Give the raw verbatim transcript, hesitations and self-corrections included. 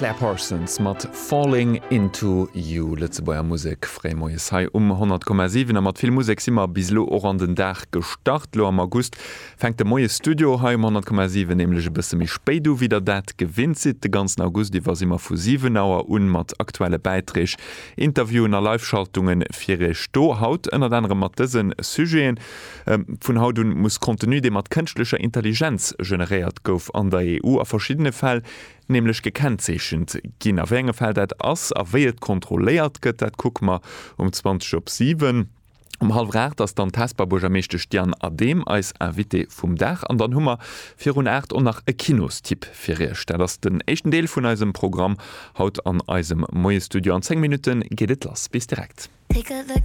Claire Parsons mat Falling into You. Lëtzebuerger Musek fréimoies hei um honnert Komma siwen. A mat vill Musek si mer bis elo och an den Dag gestart. Lo am August fänkt de Moiesstudio hei um honnert Komma siwen nämlech e bësse méi spéit u wéi der dat gewinnt sidd. De ganzen August iwwer si mer vu siwen Auer un mat aktuelle Bäiträg, Interviewen a Live-Schaltunge fir iech do. Haut ënnert anerem mat dëse Sujeten, Vun haut un muss Contenu, dee mat kënschtlecher Intelligenz generéiert gouf, an der E U a verschiddene Fäll nämlech gekennzeechent ginn. A wéi enge Fäll dat ass a wéi et kontrolléiert gëtt, dat kucke mer um zwanzeg op siwen. Um hallwer aacht ass dann d'Hesper Buergermeeschtesch Diane Adehm eis Invitée vum Dag. An dann hu mer virun aacht och nach e Kinostipp fir iech. Dat ass den éischten Deel vun eisem Programm haut an eisem Moiesstudio. An zéng Minutte geet et lass. Bis direkt.